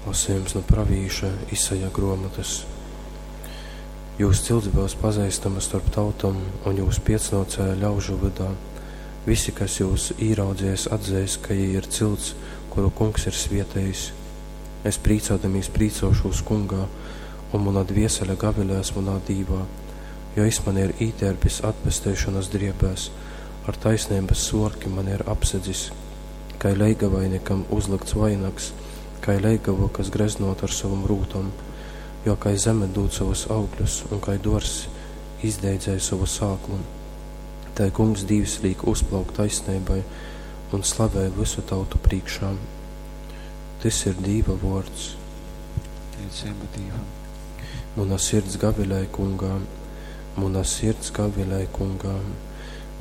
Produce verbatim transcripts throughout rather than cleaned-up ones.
Lasejums nu pravīša Isaja gruomotys. Jūs cilts byus pazeistama storp tautom un jūs piecnōcēji ļaužu vydā. Visi, kas jūs īraudzeis, atzeis, ka jī ir cilts, kuru Kungs ir svietejis. Es prīcōdamīs prīcōšūs Kungā, un muna dviesele gavilēs munā Dīvā, jo jis mani ir ītērpis atpesteišonas driebēs, ar taisneibas svorki mani ir apsedzis, kai leigavaini, kam uzlykts vainags, kai leigavu, kas greznōta ar sovom rūtom, jo kai zeme dūd sovus augļus un kai dōrzs izdeidzej sovu sāklu, tai Kungs Dīvs līk uzplaukt taisneibai un slavei vysu tautu prīškā. Tys ir Dīva vōrds. Pateiceiba Dīvam. Muna sirds gavilej Kungā, muna sirds gavilej Kungā,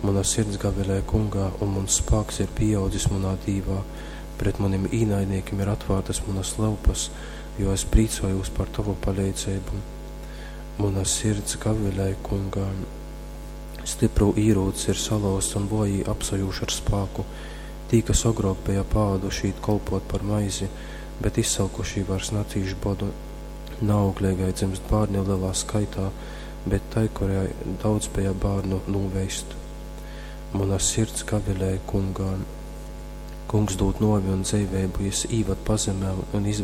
muna sirds gavilej Kungā, un muns spāks ir pīaudzis munā Dīvā. Pret munim īnaidnīkim ir atvārtas munas lyupas, jo es prīcojūs par tovu paleidzeibu. Muna sirds gavilej Kungā. Styprū īrūcs ir salauzts un vōjī apsajūž ar spāku. Tī, kas ogrōk beja paāduši īt kolpōt par maizi, bet izsolkušī vairs nacīš bodu. Naaugleigai dzymst bārni lelā skaitā, bet tai, kurai daudz beja bārnu, nūveist. Muna sirds gavilej Kungā. Kungs dūd nōvi un dzeiveibu, jys īvad pazemē un izvad